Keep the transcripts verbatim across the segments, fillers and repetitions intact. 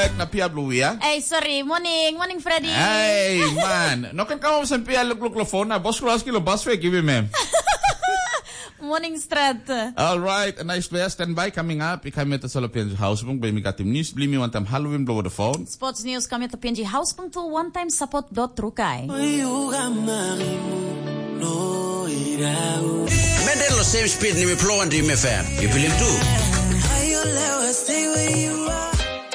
Ek na pia blue ya. Hey, sorry. Morning, morning, Freddy. Hey, man. No ken kam olsem pia lukluk lo phone na bos kulaski lo bas fe givim em. Morning, Strat. All right, a nice player. Stand by, coming up. I kam yet sa lo P N G House bung, bai mi gat im news, bli mi wantam Halloween blow the phone. Sports news kam yet P N G House bung tu one time support dot trukai. Menden lo same speed ni mi plowan di M F M. You believe too?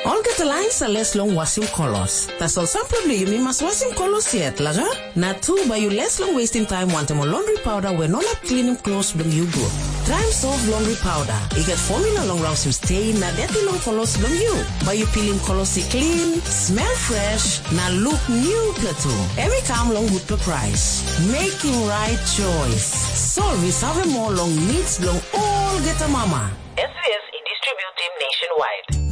Olgeta lain sa les long wasim kolos. Tasol sampela bilong yumi mas wasim kolos yet, laga? Na tu bai yu les long wastim taim wantaim ol laundry powder we no inap klinim klos bilong yu gut. Traim soft laundry powder. I gat formula long rausim stain na deti long kolos bilong yu. Bai yu pilim kolos i klin, smell fresh, na look newpela tu. Em i kam long gutpela price. Making right choice. Solve i save moa long needs bilong olgeta mama. S B S i distributim nationwide.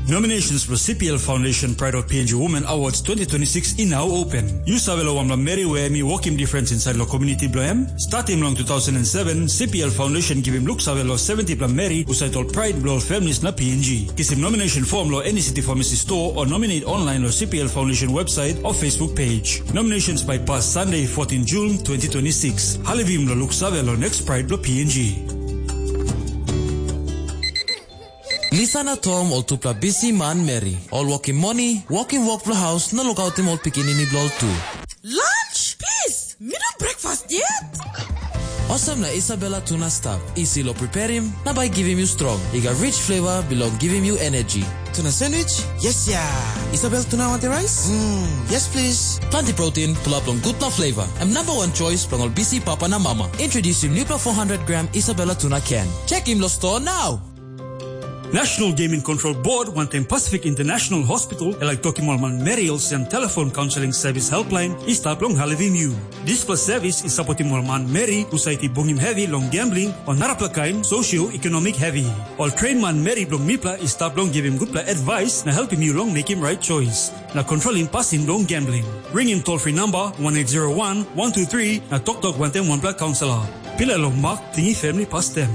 Nominations for C P L Foundation Pride of P N G Women Awards twenty twenty-six i now open. You save lo wanpela meri we mi wokim difference inside lo community blo em? Starting long two thousand and seven, C P L Foundation givim look save lo seventy pla meri usait ol pride blo ol families na P N G. Kisim nomination form lo any city pharmacy store or nominate online lo C P L Foundation website or Facebook page. Nominations by pass Sunday, fourteen June twenty twenty-six. Halivim lo look save lo next pride blo P N G. Lisa na Tom ol tupela bisi manmeri, ol wokim moni, wokim wok bilong haus na lukautim ol pikinini bilong ol tu. Lunch? Please, mi no breakfast yet. Olsem na Isabella tuna stap, isi lo preparim, na bai givim yu strong. I gat rich flavor bilong givim yu energy. Tuna sandwich? Yes ya. Isabel tuna wanti rice? Mm, yes please. Planti protein, pulap long gutpela flavor. Em number one choice bilong ol bisi papa na mama. Introducing newpela four hundred gram Isabella tuna can. Check him lo store now. National Gaming Control Board wantaim Pacific International Hospital e laik tokim ol manmeri olsem telefon kaunseling sevis helpline i stap long Halivim yu. Dispela sevis i sapotim ol manmeri husat i bungim hevi long gambling o narapela kain socio-economic hevi. Ol train manmeri bilong mipela i stap long givim gutpela advice na helpim yu long mekim right choice na kontrolim pasin bilong gambling. Ringim toll free number one eight zero one one two three na toktok wantaim wanpela kaunselor. Pilai long mak tingim family pastem.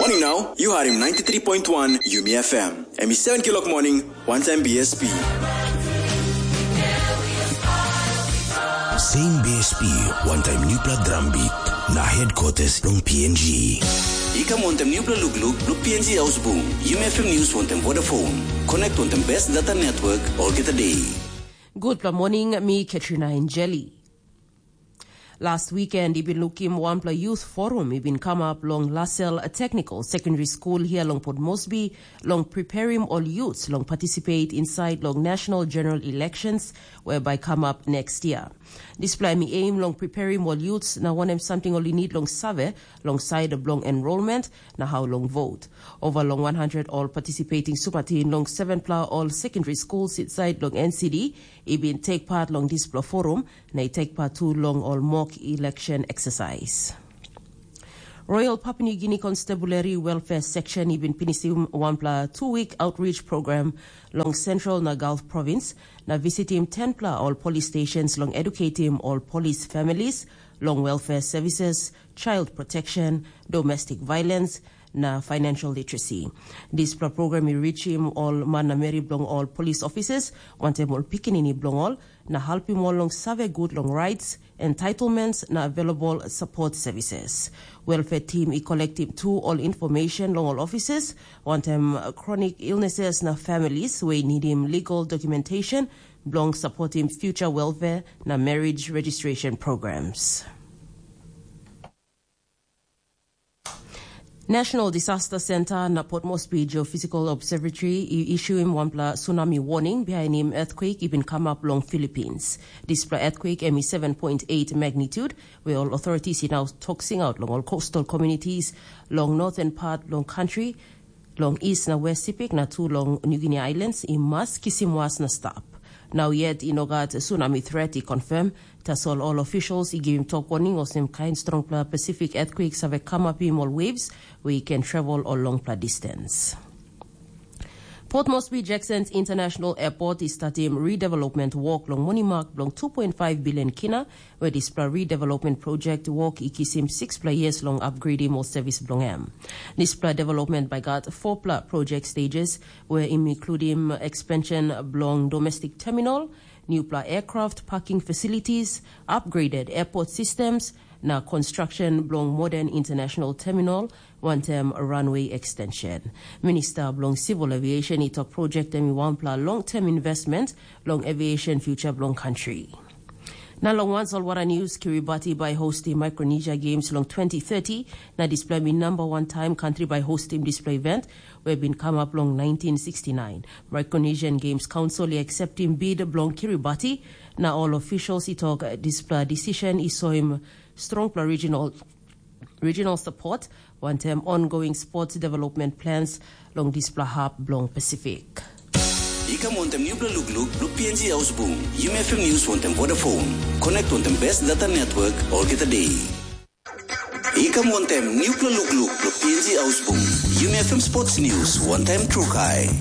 Morning now, you are in ninety-three point one Yumi F M. Em i seven kilok morning, one time B S P. Same B S P, one time newpela drum beat, na headquarters long P N G. I kam wantaim newpela lukluk bilong P N G Ausbung, Yumi F M News wantaim Vodafone. Connect wantaim best data network olgeta day. Gutpela morning, mi Katrina Injeli. Last weekend, i bin lukim wanpela youth forum i bin kamap long Lasel Technical Secondary School hia long Port Moresby, long preparim ol youths long participate inside long national general elections we bai kamap next year. Dispela em i aim long preparim ol youths na wanem samting ol i need long save long side bilong enrollment na how long vote. Over long one hundred ol participating sumatin long sevenpela ol secondary schools inside long N C D i bin take part long dispela forum na i take part tu long ol mock election exercise. Royal Papua New Guinea Constabulary Welfare Section i bin pinisim wanpela two-week outreach program long Central na Gulf Province na visitim tenpela ol police stations long educatim ol police families long welfare services, child protection, domestic violence, na financial literacy. Dispela program i richim ol man na meri bilong ol police officers, wantaim ol pikinini bilong ol, na helpim ol long save gut long rights, entitlements, na available support services. Welfare team i collectim tu ol information long ol officers, wantaim chronic illnesses na families wey nidim legal documentation bilong supportim future welfare na marriage registration programs. National Disaster Center na Port Moresby Geophysical Observatory i issuim wanpela tsunami warning bihainim earthquake i bin kamap long Philippines. Dispela earthquake em i seven point eight magnitude, we ol authorities i nau tok singaut long ol coastal communities long northern part long country, long East na West Pacific na tu long New Guinea Islands i mas kisim was na stap. Nau yet i no gat tsunami threat i confirm, tasol ol officials i givim tok warning olsem kain strongpela Pacific earthquake save kamapim ol waves we i ken travel ol longpela distance. Port Moresby Jackson International Airport i statim redevelopment wok long monimak bilong two point five billion kina, where dispela redevelopment project wok i kisim sixpela years long upgrading or service bilong em. Dispela development by got fourpela project stages, where im including expansion bilong domestic terminal, newpela aircraft parking facilities, upgraded airport systems, na construction bilong modern international terminal, wantaim runway extension. Minista bilong Civil Aviation i tok project em i wanpela long-term investment long aviation future bilong country. Na long wan solwara news, Kiribati bai hostim Micronesia Games long twenty thirty, na dispela mi number one time country bai hostim dispela event, we bin come up long nineteen sixty-nine. Micronesian Games Council i acceptim bid bilong Kiribati, na all officials i tok dispela decision i soim strongpela regional regional support, wantaim ongoing sports development plans long dispela hap bilong Pacific. I kam wantaim nupela lukluk bilong P N G Hausbung, Yumi F M News wantaim Vodafone. Connect wantaim best data network olgeta day. I kam wantaim nupela lukluk bilong P N G Hausbung, Yumi F M Sports News wantaim Trukai.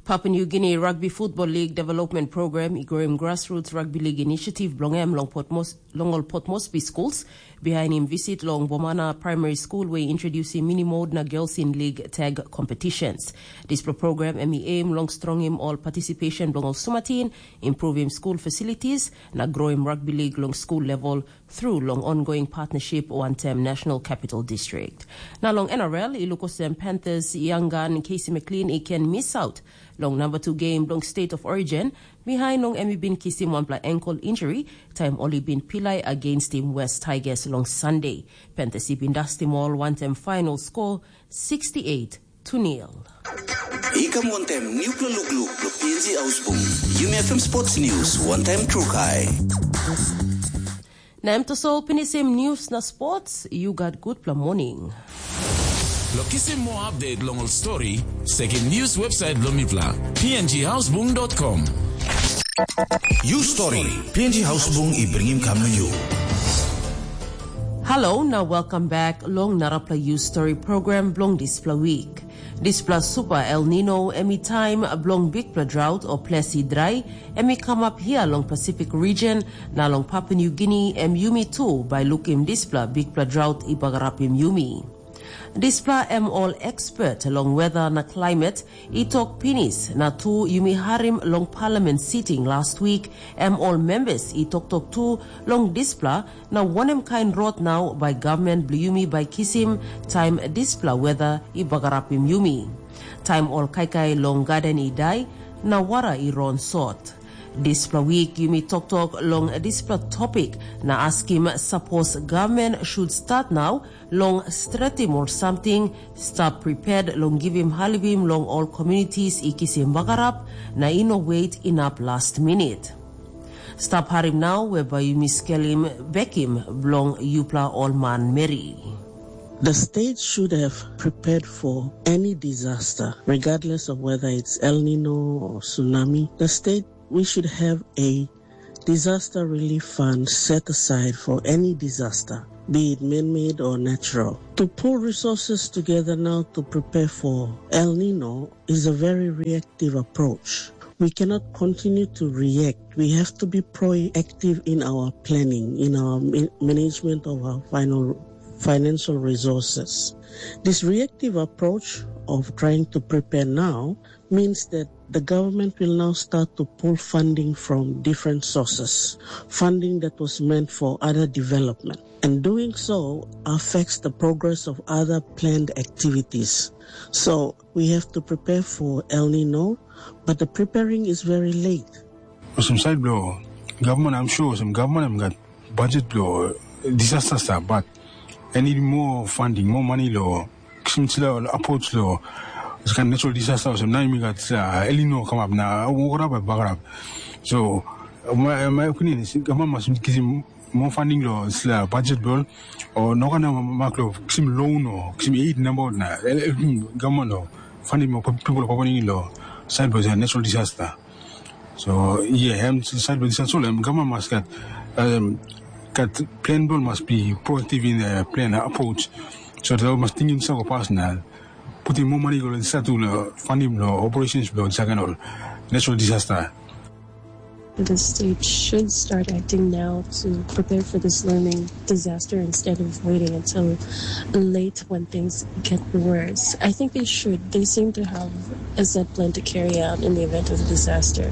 Papua New Guinea Rugby Football League Development Program i groim grassroots rugby league initiative bilong em long, Port Mos long ol Port Moresby schools, behind im visit long Bomana Primary School, where i introducing mini mode na girls in league tag competitions. Dispela program em i aim long strongim ol participation bilong ol sumatin, improving school facilities, na growing rugby league long school level through long ongoing partnership wantaim National Capital District. Na long N R L, i luk olsem Panthers young gun Casey McLean i ken miss out long number two game bilong State of Origin, behind long em i bin kisim wanpela ankle injury, taim ol i bin pilai against im West Tigers long Sunday. Panthers i bin dustim ol wantaim final score sixty-eight to nil. I kam wantaim nupela lukluk bilong P N G Hausbung, Yumi F M Sports News wantaim Trukai. Na em tasol pinisim news na sports, you got gutpela morning. Lo kisim more update long ol story, sekim news website bilong mipela, P N G Hausbung dot com. You story, P N G Hausbung i bringim kam na you. Hello, na welcome back long narapela You Story program bilong dispela week. Dispela super El Nino em i taim bilong bikpela drought o ples i drai, em i kamap hia long Pacific region, na long Papua New Guinea em yumi tu bai lukim dispela bikpela drought i bagarapim yumi. Dispela em ol expert long weather na climate i tok pinis, na tu yumi harim long parliament sitting last week, em ol members i toktok tu long dispela, na wanem kain rot nau bai gavman bilong yumi bai kisim taim dispela weather i bagarapim yumi. Taim ol kaikai long gaden i dai, na wara i ron sot. Dispela wik yumi toktok long dispela topik na askim sapos gavman should start nau long stretim ol samting, stap prepared long givim halivim long ol communities i kisim bagarap, na i no wet inap last minute. Stap harim nau we bai yumi skelim bekim bilong yupela ol manmeri. The state should have prepared for any disaster, regardless of whether it's El Nino or tsunami. The state, we should have a disaster relief fund set aside for any disaster, be it man-made or natural. To pull resources together now to prepare for El Nino is a very reactive approach. We cannot continue to react. We have to be proactive in our planning, in our ma-, management of our final financial resources. This reactive approach of trying to prepare now means that the government will now start to pull funding from different sources, funding that was meant for other development. And doing so affects the progress of other planned activities. So we have to prepare for El Nino, but the preparing is very late. Olsem side bilong government, I'm sure olsem government em gat budget bilong disaster stuff, but I need more funding, more money lo kisim sila approach lo this kind natural disaster olsem na mi gat sila El Nino come up na wokra bai bagarap. So my, my opinion is government must kisim more funding lo sila budget bill o no kana mak lo kisim loan o kisim aid number na government lo funding mo people of lo side by natural disaster. So yeah, em side by disaster lo government must got um, got plan bill must be proactive in the plan approach. So they must think in several personal. putim moa mani go long satu long fundim long operations bilong second ol natural disaster. The state should start acting now to prepare for this looming disaster instead of waiting until late when things get worse. I think they should. They seem to have a set plan to carry out in the event of a disaster.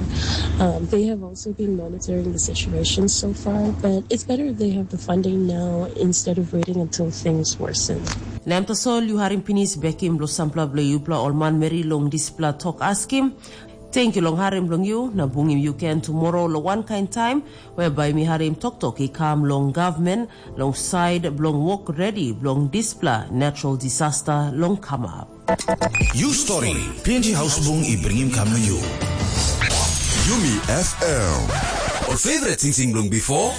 Um, they have also been monitoring the situation so far, but it's better if they have the funding now instead of waiting until things worsen. Na em tasol yu harim pinis bekim bilong sampela bilong yupela ol manmeri long dispela tok askim. Tenkyu long harim bilong yu na bungim yu ken tumora long wankain taim, whereby mi harim toktok i kam long gavman long side bilong wok redi bilong dispela natural disaster long kamap. You story, P N G Hausbung i bringim kam na you. Yumi F M. Or favorite sing sing blong before?